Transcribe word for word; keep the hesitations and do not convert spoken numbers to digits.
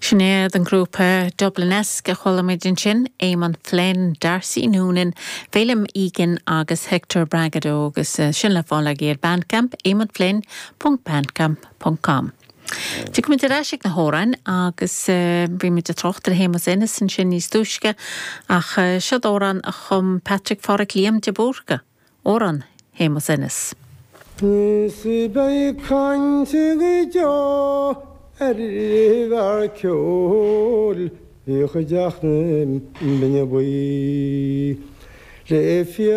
Sin iad an grúpa Dublinesque a chuala muid ansin, Eamon Flynn, Darcy Noonan, Phelim Egan agus Hector Bragado agus eh, sin le fáil ag ar Bandcamp eamonflynn.bandcamp.com. Tiocfaimid ar ais ag na hamhráin agus eh, bhí muid ag trácht ar Shéamus Ennis ansin níos túisce ach eh, seo amhrán a chum Patrick Phádraic Liam de Búrca, amhrán Shéamus Ennis. Is beidh caint go deo ar bhfear ceoil i gCuideachta Binne Buí. Le fi